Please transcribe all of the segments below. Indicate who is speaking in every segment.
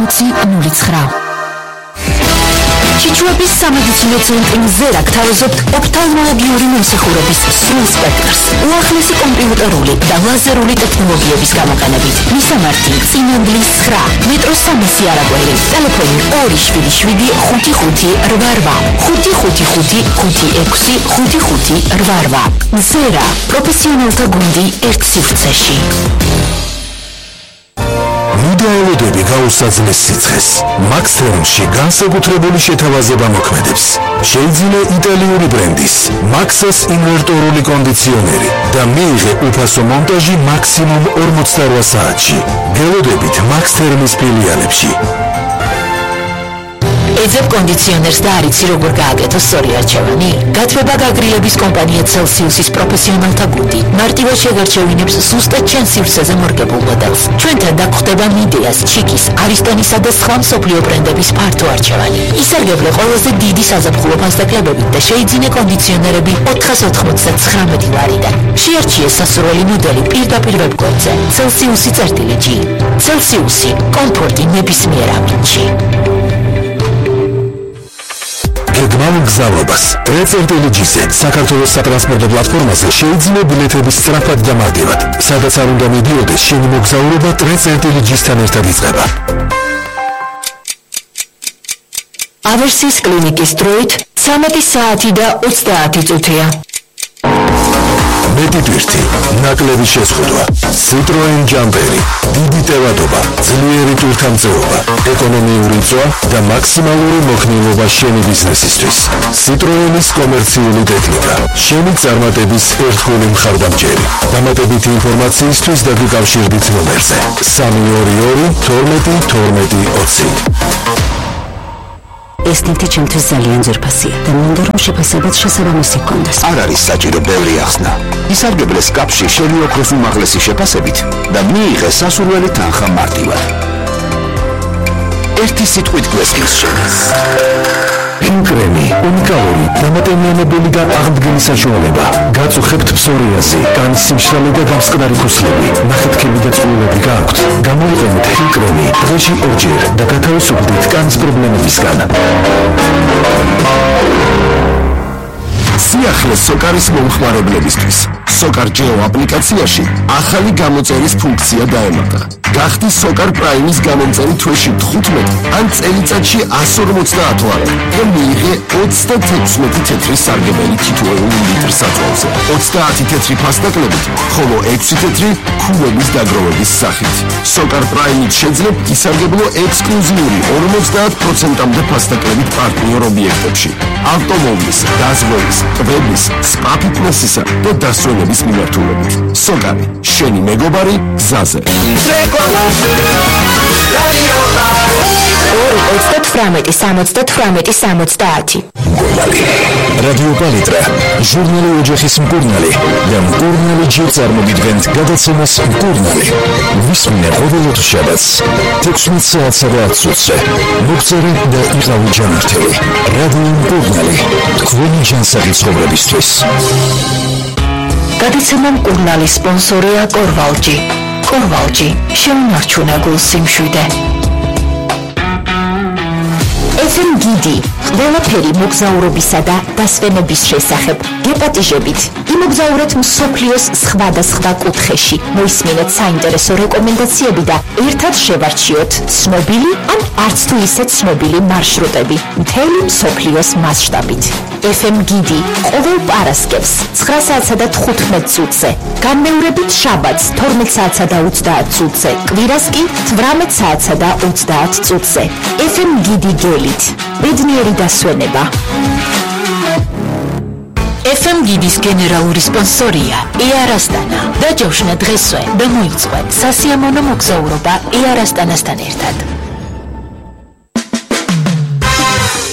Speaker 1: 06009. Ჩიჩუების სამედიცინო ცენტრი მზერა გთავაზობთ ოფთალმოლოგიური მომსახურების სრულ სპექტრს. უახლესი კომპიუტერული და ლაზერული ტექნოლოგიების გამოყენებით. მისამართი წინანდლის 9, მეტროს 300 არაგველი. ტელეფონი 277 5588 555 56 მზერა, პროფესიონალთა გუნდი ერთ სივრცეში.
Speaker 2: მიდაელოდები გაუსაძნეს სიცხეს. Max Thermში განსაკუთრებული შეთავაზება მოქმედებს. შეიძინე იტალიური ბრენდის Maxas ინვერტორული კონდიციონერი და მიიღე უფასო მონტაჟი მაქსიმუმ 48 საათში. გელოდებით Max Thermის ფილიალებში.
Speaker 1: ეძებ კონდიციონერს და არიცი როგორ გააკეთო სწორი არჩევანი? გათბება გაგრილების კომპანია Celsius-ის პროფესიონალთა გუნდი მარტივად შეგარჩევინებს ზუსტად ჩემ სივრცეზე მორგებულ მოდელს. ჩვენთან დაგხვდება მიდეას, ჩიკის, არისტონისა და სხვა მსოფლიო ბრენდების ფართო არჩევანი. ისარგებლე ყველაზე დიდი საზაფხულო ფასდაკლებებით და შეიძინე კონდიციონერები 499 ლარიდან. შეარჩიე სასურველი მოდელი პირდაპირ ვებგვერდზე Celsius-G. Celsius-ი კომფორტი ნებისმიერ ამინდში.
Speaker 2: გეგმავ მგზავრობას G-ზე საქართველოს სატრანსპორტო პლატფორმაზე შეიძინე ბილეთების სწრაფად და მარტივად. სადაც არ უნდა მიდიოდეს, შენი მოგზაურობა G-სთან ერთად იწყება.
Speaker 1: ავერსის კლინიკის დროით 13 საათი და 30 წუთია.
Speaker 2: მეტი ტვირთი, ნაკლები შეზღუდვა, Citroen Jumperi, დიდი ტევადობა, ძლიერი ტვირთამწეობა, ეკონომიური წვა და მაქსიმალური მოხნილობა შენი ბიზნესისთვის. Citroenis კომერციული ტექნიკა, შენი წარმატების ერთგული მხარდამჭერი. დამატებითი ინფორმაციისთვის დაგიკავშირდით ნომერზე 322 12 12 20.
Speaker 3: ეს ნივთი ჩემთვის ძალიან ძვირფასია და მინდა რომ შეფასებაც შესაბამისი ჰქონდეს.
Speaker 4: არ არის საჭირო ბევრი ახსნა. ისარგებლე სკაფში შენი ოქროს უმაღლესი შეფასებით და მიიღე სასურველი თანხა მარტივად. ერთი სიტყვით გვესმის შენ.
Speaker 2: Pink-Creme, უნიკალური, დამატებითი და აღდგენის საშუალება. გაწუხებთ ფსორიაზი, კანის სიმშრალე და გამსკდარი ქუსლები. ნახეთქები და წყვილები გააქვთ. გამოიყენეთ Pink-Creme დღეში ორჯერ და გათავისუფლდით კანის პრობლემებისგან.
Speaker 4: სიახლე სოკარის მომხმარებლებისთვის. Sokar Geo აპლიკაციაში ახალი გამოწერის ფუნქცია დაემატა. გახდი Sokar Prime-ის გამომწერი თვეში 15 ან წელიწადში 150 ლარი და მიიღე 36 თეთრი სარგებელი თითოეულ ლიტր საწვავზე. 30 თეთრი ფასდაკლებით, ხოლო 6 თეთრი ქულების დაგროვების სახით. Sokar Prime-ით შეძლებთ ისარგებლო ექსკლუზიური 50%-მდე ფასდაკლებით პარტნიორ ობიექტებში. ავტომობილის, გაზღვევის, ტბების, სპა ფიტნესისა და დასვენების მიმართულებით. Sokari, შენი მეგობარი გზაზე.
Speaker 1: 2-38-70-70.
Speaker 2: რადიო პალიტრა, ჟურნალი ოჯახის მკურნალი და მკურნალი ჯერ წარმოგიდგენთ გადაცემას მკურნალი. ვისმინე ყოველ შაბათს 16 საათსა და 10 წუთზე. მოგწერე და იყავი ჯანმრთელი. რადიო მკურნალი, თქვენი ჯანსაღი ცხოვრებისთვის.
Speaker 1: გადაცემა მკურნალი სპონსორია კორვალჯი. კორვალჯი, შეუნარჩუნა გულს სიმშვიდე. FM გიდი, ყველაფერი მოგზაურობისა და დასვენების შესახებ. გეპატიჟებით, იმოგზაურეთ მსოფლიოს სხვადასხვა კუთხეში. მოისმინეთ საინტერესო რეკომენდაციები და ერთად შევარჩიოთ ცნობილი ან არც თუ ისე ცნობილი მარშრუტები მთელი მსოფლიოს მასშტაბით. FM გიდი ყოველ პარასკევს 9 საათსა და 15 წუთზე, განმეორებით შაბათს 12 საათსა და 30 წუთზე, კვირას კი 18 საათსა და 30 წუთზე. FM გიდი გელით, ბედნიერი დასვენება. FM გიდის გენერალური სპონსორია Air Astana. დაჯავშნა დღესვე და მოიწვე სასიამოვნო მოგზაურობა Air Astana-სთან ერთად.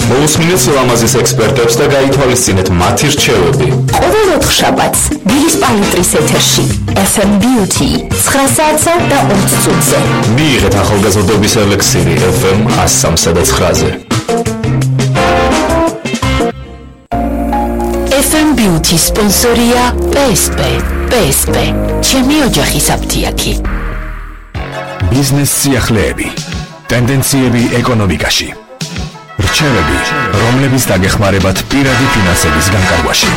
Speaker 5: მოусმინეთ სილამაზის ექსპერტებს და გაითვალისწინეთ მათი რჩევები.
Speaker 1: ყოველ 4 შაბათს დილის პალიტრის ეთერში FM Beauty 9 საათსა და 20 წუთზე.
Speaker 5: მიიღეთ ახალგაზრდობის ელექსირი FM 103 და 9-ზე.
Speaker 1: FM Beauty სპონსორია PSP. PSP, ჩემი ოჯახის აფთიაქი.
Speaker 2: ბიზნეს სიახლეები. ტენდენციები ეკონომიკაში. რჩევები, რომლების დაგეხმარებათ პირადი ფინანსების განკარგვაში.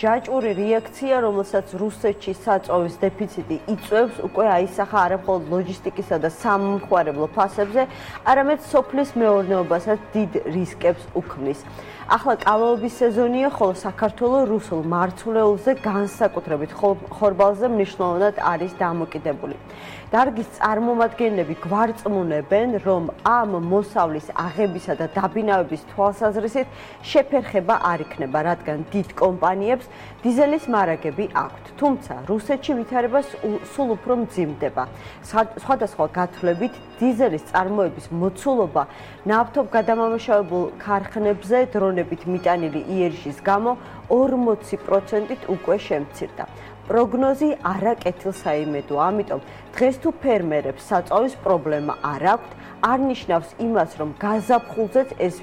Speaker 6: ჯაჭვური რეაქცია, რომელსაც რუსეთში საწვავის დეფიციტი იწვევს, უკვე აისახა არა მხოლოდ ლოჯისტიკისა და სამომხმარებლო ფასებზე, არამედ სოფლის მეურნეობასაც დიდ რისკებს უქმნის. ახლა კალაობის სეზონია, ხოლო საქართველოს რუსულ მარცვლეულზე, განსაკუთრებით ხორბალზე მნიშვნელოვნად არის დამოკიდებული. დარგის წარმომადგენლები გვარწმუნებენ, რომ ამ მოსავლის აღებისა და დაბინავების თვალსაზრისით შეფერხება არ იქნება, რადგან დიდ კომპანიებს დიზელის მარაგები აქვთ. თუმცა რუსეთში ვითარება სულ უფრო მძიმდება. სხვადასხვა გათვლებით დიზელის წარმოების მოცულობა ნავთობგადამამუშავებელ ქარხნებზე დრონებით მიტანილი იერიშის გამო 40%-ით უკვე შემცირდა. პროგნოზი არაკეთილს აიმედოა, ამიტომ დღეს თუ ფერმერებს საწვავის პრობლემა არ აქვთ, არ ნიშნავს იმას, რომ გაზაფხულზეც ეს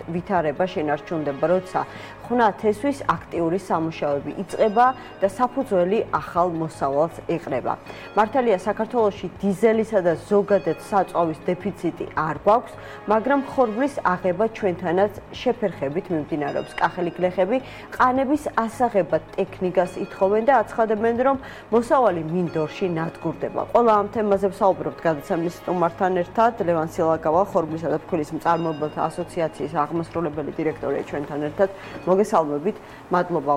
Speaker 6: ვითარება შენარჩუნდება, როცა ხვნათესვის აქტიური სამუშაოები იწყება და საფუძველი ახალ მოსავალს ეყრება. მართალია საქართველოში დიზელისა და ზოგადად საწვავის დეფიციტი არ გვაქვს, მაგრამ ხორბლის აღება ჩვენთანაც შეფერხებით მიმდინარეობს. კახელი გლეხები ყანების ასაღებად ტექნიკას ითხოვენ და აცხადებენ, რომ მოსავალი მინდორში ნადგურდება. ყველა ამ თემაზე ვსაუბრობთ გადაცემის სტუმართან ერთად. ლევან სილაკავა, ხორბლისა და ფქვილის მწარმოებელთა ასოციაციის აღმასრულებელი დირექტორია ჩვენთან ერთად. მოგესალმებით, მადლობა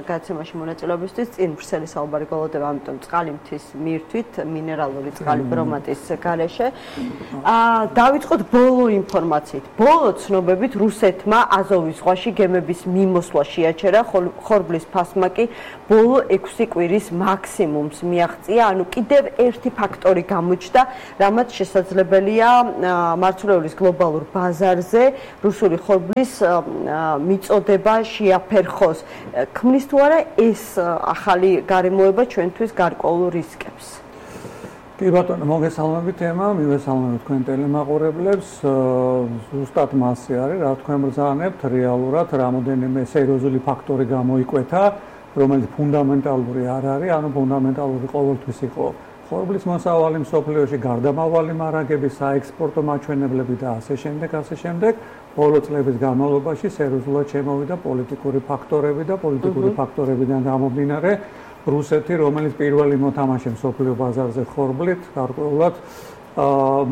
Speaker 6: გადაცემაში მონაწილეობისთვის. წინ ვრცელი საუბარი გველოდება, ამიტომ წყალი მთის მირთვით, მინერალური წყალი ბრომატის გარეშე. დავიწყოთ ბოლო ინფორმაციით. ბოლო ცნობებით რუსეთმა აზოვის ზღვაში გემების მიმოსვლა შეაჩერა, ხორბლის ფასმა კი ბოლო 6 კვირის მაქსიმუმს მიაღწია, ანუ კიდევ ერთი ფაქტორი გამოჩნდა, რამაც შესაძლებელია მარცვლეულის გლობალურ ბაზარზე რუსული ხორბლის მიწოდება შეაფერხოს. ქმნის თუ არა ეს ახალი გარემოება ჩვენთვის გარკვეულ რისკებს?
Speaker 7: კი ბატონო, მოგესალმებით ემა, მივესალმებით თქვენ ტელემაყურებლებს. ზუსტად მასე არის, რა თქვენ ბრძანებთ, რეალურად რამოდენიმე სერიოზული ფაქტორი გამოიკვეთა, რომელიც ფუნდამენტალური არ არის, ანუ ფუნდამენტალური ყოველთვის იყო ხორბლის მოსავალი მსოფლიოში, გარდამავალი მარაგები, საექსპორტო მაჩვენებლები და ასე შემდეგ. ბოლო წლების განმავლობაში სერიოზულად შემოვიდა პოლიტიკური ფაქტორები და პოლიტიკური ფაქტორებიდან გამომდინარე რუსეთი, რომელიც პირველი მოთამაშე მსოფლიო ბაზარზე ხორბლით, გარკვეულად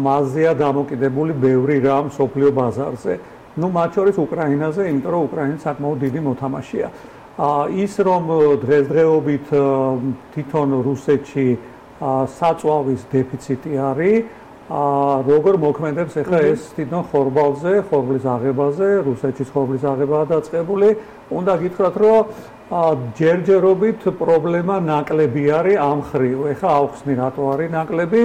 Speaker 7: მასზეა დამოკიდებული ბევრი რამ მსოფლიო ბაზარზე. მათ შორის უკრაინაზე, იმიტომ რომ უკრაინა საკმაოდ დიდი მოთამაშეა. ის რომ დღესდღეობით თვითონ რუსეთში საწვავის დეფიციტი არის, როგორ მოქმედებს ახლა ეს თვითონ ხორბალზე, ხორბლის აღებაზე, რუსეთში ხორბლის აღებაა დაწყებული. უნდა გითხრათ, რომ ჯერჯერობით პრობლემა ნაკლები არის ამ ხრივ. ახლა ავხსნი რატო არის ნაკლები?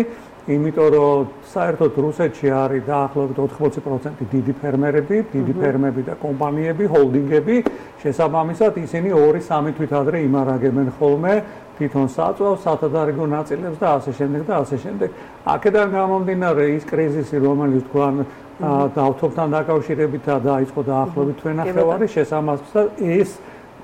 Speaker 7: იმიტომ რომ საერთოდ რუსეთში არის დაახლოებით 80% დიდი ფერმერები და კომპანიები, ჰოლდინგები. შესაბამისად, ისინი 2-3 თვით ადრე იმარაგებენ ხოლმე თვითონ საწვავს, სათადარიგო ნაწილებს და ასე შემდეგ. აქედან გამომდინარე ის კრიზისი, რომელიც თქვენ ნავთობთან დაკავშირებითაა დაიწყო დაახლოებით თვენახევარი, შესაბამისად ეს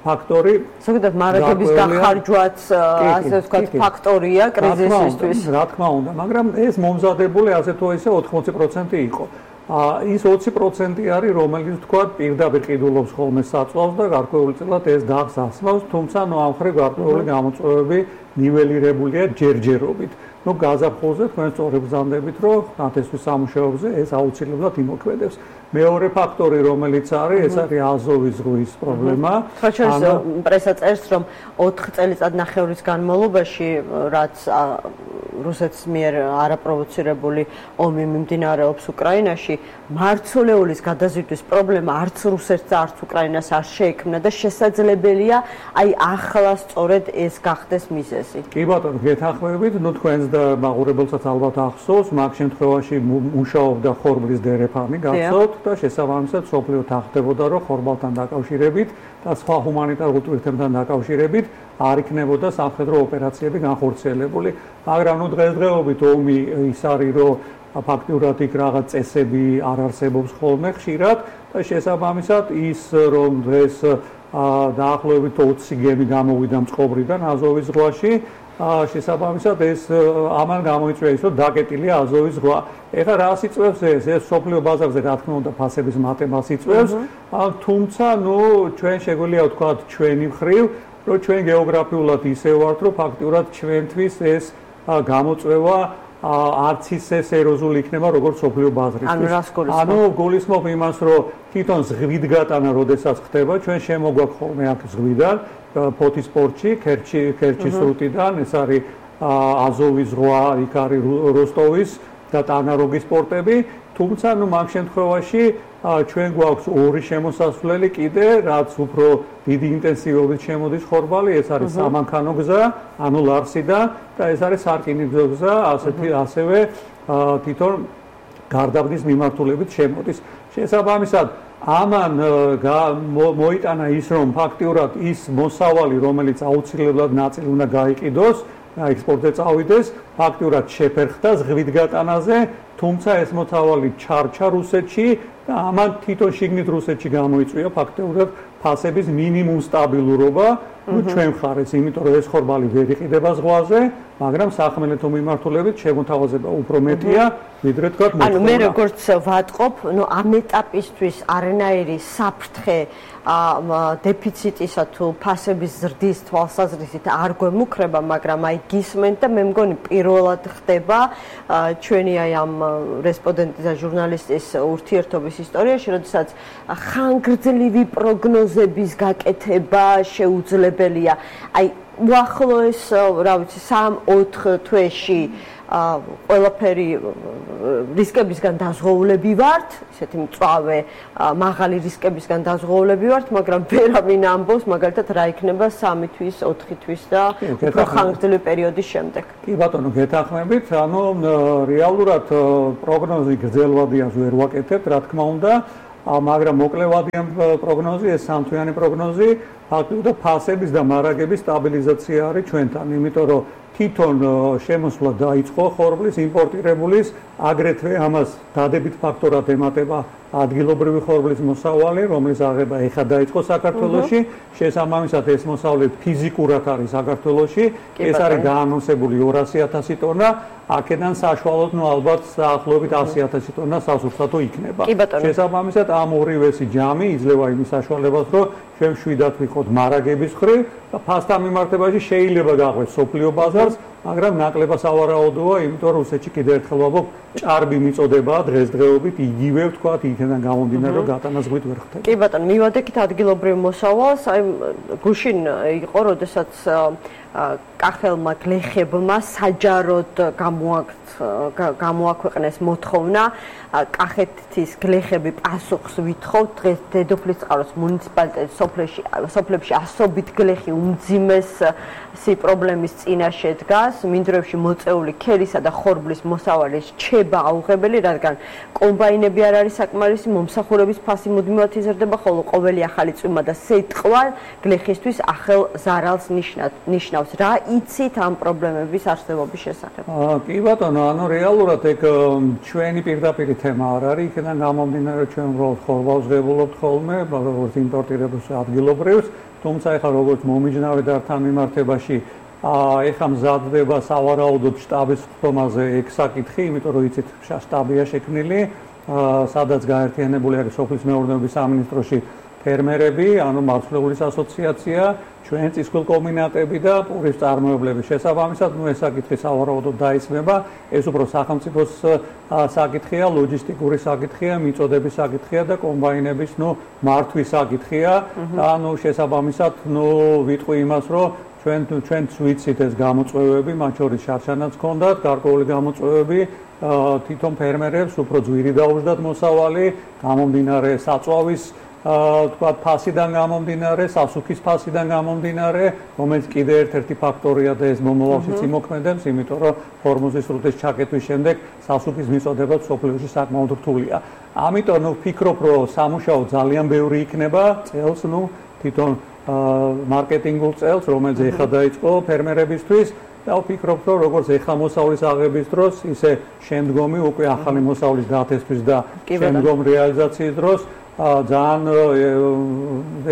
Speaker 7: ფაქტორი
Speaker 6: ზოგადად მარაგების დახარჯვაც ასე ვთქვათ ფაქტორია კრიზისისთვის.
Speaker 7: რა თქმა უნდა, მაგრამ ეს მომზადებული ასე თუ ისე 80% იყო. ის 20% არის, რომელიც ვთქვათ პირდაპირ ყიდულობს ხოლმე საწვავს და გარკვეულწილად ეს დახს ასმავს, თუმცა ამ ხრივ გარკვეული გამოწვევები ნიველირებულია ჯერჯერობით. გაზაფხულზე თქვენ სწორედ ბრძანდებით, რომ ნათესვის სამუშაოებზე ეს აუცილებლად იმოქმედებს. მეორე ფაქტორი, რომელიც არის, ეს არის აზოვის ზღვის პრობლემა.
Speaker 6: პრესა წერს, რომ 4 წელიწადნახევრის განმავლობაში, რაც რუსეთის მიერ არაპროვოცირებული ომი მიმდინარეობს უკრაინაში, მარცვლეულის გადაზიდვის პრობლემა არც რუსეთს და არც უკრაინას არ შეექმნა და შესაძლებელია ახლა სწორედ ეს გახდეს მიზეზი.
Speaker 7: კი ბატონო, გეთანხმებით, თქვენს და მაყურებელსაც ალბათ ახსოვს, მაგ შემთხვევაში მუშაობდა ხორბლის დერეფანი, გახსოვთ და შესაბამისად სოფლიო თანხდებოდა, რომ ხორბალთან დაკავშირებით და სხვა ჰუმანიტარულ ტვირთებთან დაკავშირებით არ იქნებოდა სამხედრო ოპერაციები განხორციელებული. მაგრამ დღესდღეობით ომი ის არის, რომ ფაქტურად იქ რაღაც წესები არ არსებობს ხოლმე ხშირად და შესაბამისად ის რომ დღეს დაახლოებით 20 გემი გამოვიდა მწყობრიდან აზოვის ზღვაში. შესაბამისად ეს ამან გამოიწვია ის რომ დაკეტილია აზოვის ზღვა. ეხლა რას იწვევს ეს სოფლიო ბაზარზე რა თქმა უნდა ფასების მატებას იწვევს, თუმცა ჩვენ შეგვიძლია ვთქვათ ჩვენი მხრივ რომ ჩვენ გეოგრაფიულად ისე ვართ რომ ფაქტიურად ჩვენთვის ეს გამოწვევა არც ისე სერიოზული იქნება როგორც სოფლიო ბაზრისთვის. ანუ გულისხმობ იმას რომ თვითონ ზღვით გატანა როდესაც ხდება ჩვენ შემოგვაქვს ხოლმე აქ ზღვიდან ფოთის პორტში ქერჩის სრუტიდან ეს არის აზოვის ზღვა იქ არის როსტოვის და ტანაროგის პორტები თუმცა მაგ შემთხვევაში ჩვენ გვაქვს ორი შემოსასვლელი კიდე რაც უფრო დიდი ინტენსივობით შემოდის ხორბალი ეს არის სამანქანო გზა ანუ ლარსიდან და ეს არის სარკინიგზო გზა ასევე თვითონ გარდაბნის მიმართულებით შემოდის შესაბამისად ამან მოიტანა ის რომ ფაქტიურად ის მოსავალი რომელიც აუცილებლად ნაწილი უნდა გაიყიდოს ექსპორტზე წავიდეს ფაქტიურად შეფერხდა ზღვით გატანაზე თუმცა ეს მოსავალი ჩარჩა რუსეთში და ამან თვითონ შიგნით რუსეთში გამოიწვია ფაქტიურად ფასების მინიმუმ სტაბილურობა ჩვენ მხარეს იმიტომ რომ ეს ხორბალი ვერ იყიდება ზღვაზე მაგრამ სახმელეთო მიმართულებით შემოთავაზება უფრო მეტია ვიდრე თქვა
Speaker 6: ანუ მე როგორც ვატყობ ამ ეტაპისთვის არანაირი საფრთხე დეფიციტისა თუ ფასების ზრდის თვალსაზრისით არ გვემუქრება მაგრამ აი გისმენთ და მე მგონი პირველად ხდება ჩვენი აი ამ რესპონდენტის და ჟურნალისტის ურთიერთობის ისტორიაში როდესაც ხანგრძლივი პროგნოზების გაკეთება შეუძლებელია აი უახლოეს რა ვიცი 3-4 თვეში ყველაფერი რისკებისგან დაზღვეულები ვართ, ისეთი მწვავე მაღალი რისკებისგან დაზღვეულები ვართ, მაგრამ ვერავინ ამბობს მაგალითად რა იქნება 3 თვის, 4 თვის და უფრო ხანგრძლივი პერიოდის შემდეგ.
Speaker 7: კი ბატონო, გეთანხმებით, ანუ რეალურად პროგნოზი გრძელვადიანს ვერ ვაკეთებთ, რა თქმა უნდა, მაგრამ მოკლევადიან პროგნოზი, ეს სამთვიანი პროგნოზი, ფაქტობრივად ფასების და მარაგების სტაბილიზაცია არის ჩვენთან, იმიტომ რომ თვითონ შემოსვლა დაიწყო ხორბლის იმპორტირებულის აგრეთვე ამას დადებით ფაქტორად ემატება ადგილობრივი ხორბლის მოსავალი რომლის აღება ეხა დაიწყო საქართველოში შესაბამისად ეს მოსავალი ფიზიკურად არის საქართველოში ეს არის გაანონსებული 200,000 ტონა აქედან საშუალოდ ალბათ დაახლოებით 100,000 ტონა სასურსათო იქნება შესაბამისად ამ ორივესი ჯამი იძლევა იმის საშუალებას რომ ჩვენ შვიდად ვიყოთ მარაგების მხრივ და ფასთან მიმართებაში შეიძლება გაყვეს სოფლიო ბაზარს მაგრამ ნაკლებად სავარაუდოა იმიტომ რომ რუსეთში კიდევ ერთხელ ვამბობ ჭარბი მიწოდებაა დღესდღეობით იგივე ვთქვათ იქიდან გამომდინარე რომ გატანაზღვით ვერ ხდება
Speaker 6: კი ბატონო მივადექით ადგილობრივ მოსავალს აი გუშინ იყო როდესაც კახელმა გლეხებმა საჯაროდ გამოაქვეყნეს მოთხოვნა კახეთის გლეხები პასუხს ვითხოვთ დღეს დედოფლისწყაროს მუნიციპალიტეტის სოფლებში ასობით გლეხი უმძიმესი პრობლემის წინაშე დგას მინდვრებში მოწეული ქერისა და ხორბლის მოსავალი რჩება აუღებელი რადგან კომბაინები არ არის საკმარისი მომსახურების ფასი მუდმივად იზრდება ხოლო ყოველი ახალი წვიმა და სიტყვა გლეხისთვის ახალ ზარალს ნიშნავს რა იცით ამ პრობლემების არსებობის შესახებ
Speaker 7: კი ბატონო ანუ რეალურად ეგ ჩვენი პირდაპირ თემა არ არის იქიდან გამომდინარე ჩვენ უბრალოდ ხორბალს ვღებულობთ ხოლმე როგორც იმპორტირებულს ადგილობრივს თუმცა ეხლა როგორც მომიჯნავე და თან მიმართებაში ეხლა მზადდება სავარაუდოდ შტაბის ხდომაზე ეგ საკითხი იმიტომ რომ იცით შტაბია შექმნილი სადაც გაერთიანებული არის სოფლის მეურნეობის სამინისტროში ფერმერები ანუ მარცვლეულის ასოციაცია ჩვენ წისქვილ კომბინატები და პურის წარმოებლები შესაბამისად ეს საკითხი სავარაუდოდ დაისმება ეს უფრო სახელმწიფოს საკითხია ლოჯისტიკური საკითხია მიწოდების საკითხია და კომბაინების მართვის საკითხია ანუ შესაბამისად ვიტყვი იმას რომ ჩვენც ვიცით ეს გამოწვევები მათ შორის შარშანაც ჰქონდათ გარკვეული გამოწვევები თვითონ ფერმერებს უფრო ძვირი დაუждათ მოსავალი გამომდინარე საწვავის თქვათ ფასიდან გამომდინარე, სასუქის ფასიდან გამომდინარე, რომელიც კიდე ერთ-ერთი ფაქტორია და ეს მომავალშიც იმოქმედებს, იმიტომ რომ ჰორმუზის სრუტის ჩაკეტვის შემდეგ სასუქის მიწოდება სოფლიოში საკმაოდ რთულია. ამიტომ ვფიქრობ, რომ სამუშაო ძალიან ბევრი იქნება წელს, თვითონ მარკეტინგულ წელს, რომელიც ეხლა დაიწყო ფერმერებისთვის და ვფიქრობ, რომ როგორც ეხლა მოსავლის აღების დროს, ისე შემდგომი უკვე ახალი მოსავლის დათესვის და შემდგომ რეალიზაციის დროს ძალიან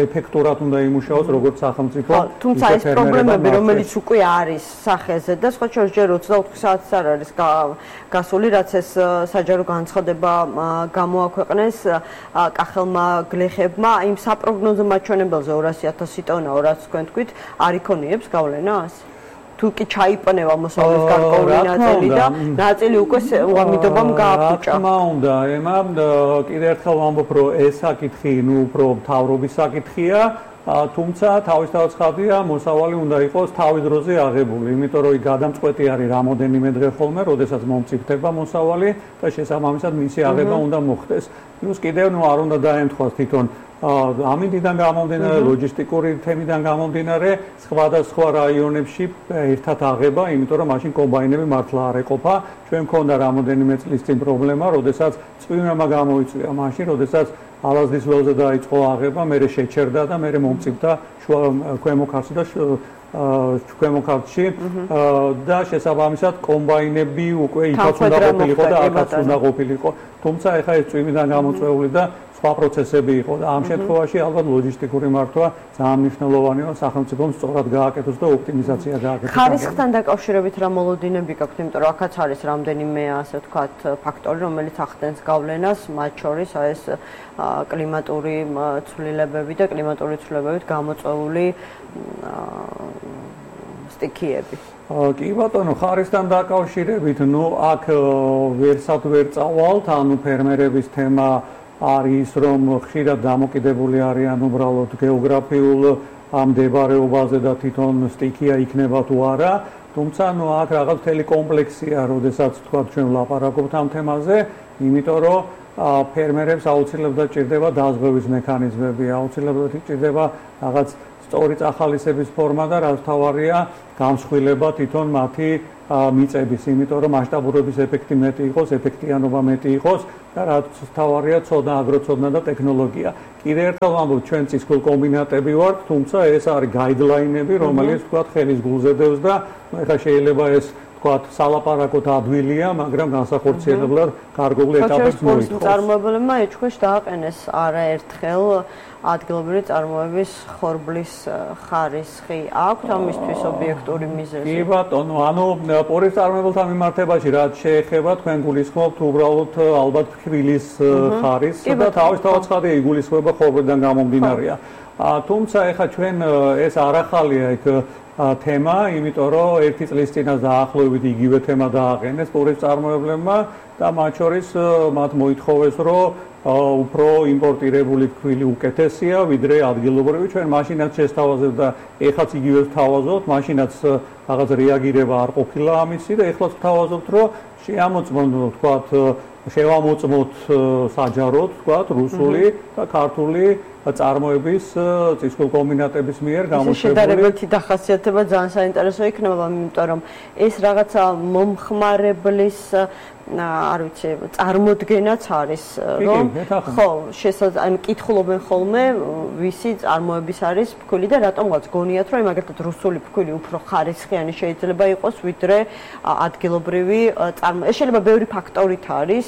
Speaker 7: ეფექტურად უნდა იმუშაოს როგორც სახელმწიფო.
Speaker 6: თუმცა ეს პრობლემები, რომელიც უკვე არის სახეზე და სხვა შორის ჯერ 24 საათს არ არის გასული, რაც ეს საჯარო განცხადება გამოაქვეყნეს კახელმა გლეხებმა, იმ საპროგნოზო მაჩვენებელზე 200,000 ტონა, რაც თქვენ თქვით, არ იქონიებს გავლენას? თუ კი ჩაიპნევა მოსავლის გარკვეული ნაწილი და ნაწილი უკვე უამიდობამ გააფუჭა.
Speaker 7: რა თქმა უნდა, ემა კიდევ ერთხელ ვამბობ, რომ ეს საკითხი, უფრო მთავრობის საკითხია, თუმცა თავისთავად ხალხია მოსავალი უნდა იყოს თავის დროზე აღებული, იმიტომ რომ გადამწყვეტი არის რამოდენიმე დღე ხოლმე, როდესაც მომწიფდება მოსავალი და შესაბამისად მისი აღება უნდა მოხდეს. პლუს კიდევ არ უნდა დაემთხვას თვითონ ამინდიდან გამომდინარე, ლოჯისტიკური თემიდან გამომდინარე, სხვადასხვა რაიონებში ერთად აღება, იმიტომ რომ მაშინ კომბაინები მართლა არ ეყოფა. ჩვენ მქონდა რამოდენიმე წლის წინ პრობლემა, როდესაც წვიმება გამოიწვია, მაშინ როდესაც ალაზნის ველზე დაიწყო აღება, მერე შეჩერდა და მერე მომწიფდა ქვემო ქართლში და ქვემო ქართლში და შესაბამისად კომბაინები უკვე იქაც უნდა ყოფილიყო და აქაც უნდა ყოფილიყო. თუმცა ეხლა ეს წვიმიდან გამოწვეული და სხვა პროცესები იყო და ამ შემთხვევაში ალბათ ლოჯისტიკური მართვა ძალიან მნიშვნელოვანია, სახელმწიფომ სწორად გააკეთოს და ოპტიმიზაცია გააკეთოს.
Speaker 6: ხარისხთან დაკავშირებით რა მოლოდინები გაქვთ, იმიტომ რომ აქაც არის რამდენიმე ასე ვთქვათ ფაქტორი, რომელიც ახდენს გავლენას, მათ შორის ეს კლიმატური ცვლილებები და კლიმატური ცვლილებებით გამოწვეული სტიქიები.
Speaker 7: კი ბატონო, ხარისხთან დაკავშირებით, აქ ვერსად ვერ წავალთ, ფერმერების თემა არის რომ ხშირად დამოკიდებული არიან უბრალოდ გეოგრაფიულ მდებარეობაზე და თვითონ სტიქია იქნება თუ არა, თუმცა აქ რაღაც მთელი კომპლექსია, როდესაც თქვა ჩვენ ვლაპარაკობთ ამ თემაზე, იმიტომ რომ ფერმერებს აუცილებლად ჭირდება დაზღვევის მექანიზმები, აუცილებლად ჭირდება რაღაც სწორი წახალისების ფორმა და რაც თავარია გამსხვილება თვითონ მათი მიწების, იმიტომ რომ მასშტაბურობის ეფექტი მეტი იყოს, ეფექტიანობა მეტი იყოს და რაც თავარია ცოდნა, აგროცოდნა და ტექნოლოგია. კიდევ ერთხელ ვამბობ, ჩვენ წისქვილ კომბინატები ვართ, თუმცა ეს არის გაიდლაინები, რომელიც თქვა ხელის გულზე დევს და ეხლა შეიძლება ეს თქვა სალაპარაკოდ ადვილია, მაგრამ განსახორციელებლად გარკვეული ეტაპებს მოითხოვს.
Speaker 6: წარმოებლებმა ეჭქვეშ დააყენეს არაერთხელ ადგილობრივი წარმოების ხორბლის ხარისხი აქვთ ამისთვის ობიექტური მიზეზი.
Speaker 7: კი ბატონო, პორის წარმოებელთა მიმართებაში რაც შეეხება, თქვენ გულისხმობთ უბრალოდ ალბათ ფქვილის ხარისხს და თავისთავად ცხადია იგულისხმება ხორბლიდან გამომდინარეა. თუმცა ეხლა ჩვენ ეს არ ახალია იქ თემა, იმიტომ რომ ერთი წლის წინას დაახლოებით იგივე თემა დააყენეს პორის წარმოებლებმა და მათ შორის მათ მოითხოვეს, რომ უფრო იმპორტირებული ფქვილი უკეთესია, ვიდრე ადგილობრივი. ჩვენ მაშინაც შესთავაზებთ და ეხლაც იგივე ვთავაზობთ, მაშინაც რაღაც რეაგირება არ ყოფილა ამისი და ეხლაც ვთავაზობთ, რომ შეამოწმოთ, ვთქვათ, შევამოწმოთ საჯაროდ, ვთქვათ, რუსული და ქართული წარმოების წისქვილ კომბინატების მიერ გამოშვებული.
Speaker 6: შედარებითი დახასიათება ძალიან საინტერესო იქნება, იმიტომ რომ ეს რაღაცა მომხმარებლის არ ვიცი, წარმოდგენაც არის, რომ ხო, შესაძლოა კითხულობენ ხოლმე, ვისი წარმოების არის ფქვილი და რატომღაც გონიათ, რომ მაგალითად რუსული ფქვილი უფრო ხარისხიანი შეიძლება იყოს, ვიდრე ადგილობრივი წარმოება. ეს შეიძლება ბევრი ფაქტორით არის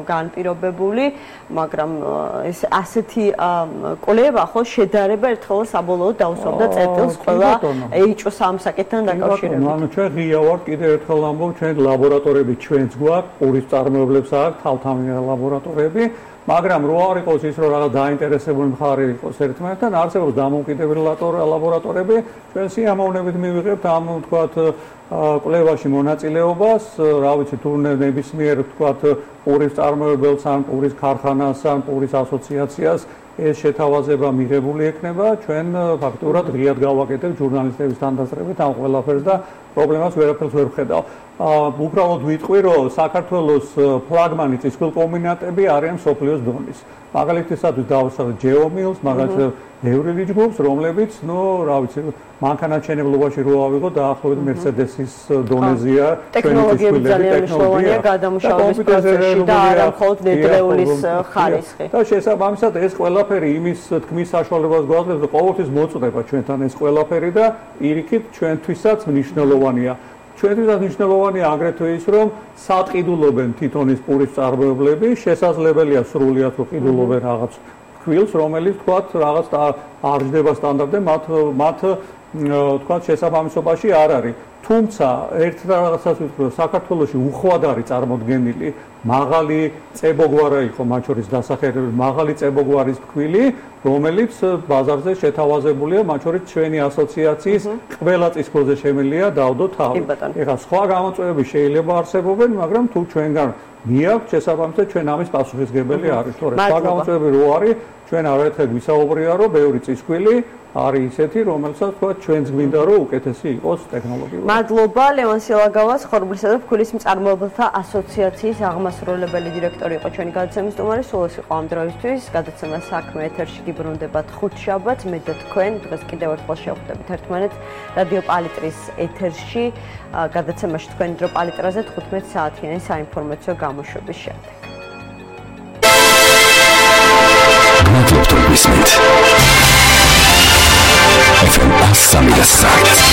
Speaker 6: განპირობებული, მაგრამ ეს ასეთი კვლევა ხო შედარება ერთხელ საბოლოოდ დაუსვამდა წერტილს ყველა HO3 ამ საკითხთან დაკავშირებით.
Speaker 7: ანუ ჩვენ ღია ვართ, კიდევ ერთხელ ამბობ, ჩვენ ლაბორატორიები ჩვენც გვაქვს, პურის წარმოებლებს აქვს თავთავიანი ლაბორატორიები, მაგრამ რო არ იყოს ის რომ რაღაც დაინტერესებული მხარე იყოს ერთმანეთთან, არსებობს დამოუკიდებელი ლაბორატორიები, ჩვენ სიამოვნებით მივიღებთ ამ თქვათ კვლევაში მონაწილეობას, რა ვიცი, თუ ნებისმიერ თქვათ პურის წარმოებელს ან პურის ქარხანას ან პურის ასოციაციას ეს შეთავაზება მიღებული ექნება, ჩვენ ფაქტურად ღიად გავაკეთებთ ჟურნალისტების თანდასწრებით ამ ყველაფერს და პრობლემას ვერაფერს ვერ ვხედავ. უბრალოდ ვიტყვი, რომ საქართველოს ფლაგმანი წისქვილ კომბინატები არიან მსოფლიოს დონის. მაგალითისათვის დავუსვათ ჯეომილს, მაგალითად ევრილიჯ გრუპს, რომლებიც, რა ვიცი, მანქანათმშენებლობაში რო ავიღოთ, დაახლოებით მერსედესის დონეზეა.
Speaker 6: ტექნოლოგიები ძალიან მნიშვნელოვანია გადამუშავების პროცესში და არა მხოლოდ ნედლეულის ხარისხი.
Speaker 7: და შესაბამისად ეს ყველაფერი იმის თქმის საშუალებას გვაძლევს, რომ ყოველთვის მოწდება ჩვენთან ეს ყველაფერი და პირიქით ჩვენთვისაც მნიშვნელოვანია. ჩვენთვის მნიშვნელოვანია აგრეთვე ის, რომ სატყიდულობენ თვითონ ის პურის წარმოებლები, შესაძლებელია სრულიად რომ ყიდულობენ რაღაც ქვილს, რომელიც თქვათ რაღაც არ ჯდება სტანდარტზე, მათ თქვათ შესაბამისობაში არ არის. თუმცა ერთ რაღაცას ვიტყვი, რომ საქართველოში უხვად არის წარმოდგენილი მაღალი წებოგვარა იყო მათ შორის დასახელებული მაღალი წებოგვარის ფქვილი, რომელიც ბაზარზე შეთავაზებულია მათ შორის ჩვენი ასოციაციის ყველა წისქვილზე შემიძლია დავდო თავი. ეხლა სხვა გამოწვევები შეიძლება არსებობენ, მაგრამ თუ ჩვენგან მიაქვთ შესაბამისად ჩვენ ამის პასუხისგებელი არის. თორე სხვა გამოწვევები რო არის, ჩვენ არაერთხელ ვისაუბრია, რომ ბევრი წისქვილი არის ისეთი, რომელსაც თქვა ჩვენს გვინდა რომ უკეთესი იყოს ტექნოლოგიურად.
Speaker 6: მადლობა ლევან სილაგავას, ხორბლისა და ფქვილის მწარმოებელთა ასოციაციის აღმასრულებელი დირექტორი იყო ჩვენი გადაცემის სტუმარი. სულ ეს იყო ამ დროისთვის. გადაცემა საქმე ეთერში გიბრუნდებათ ხუთშაბათს. მე და თქვენ დღეს კიდევ ერთხელ შევხვდებით ერთმანეთს რადიო პალიტრის ეთერში. გადაცემაში თქვენი დრო პალიტრაზე 15 საათიანი საინფორმაციო გამოშვების შემდეგ.
Speaker 2: FM 103.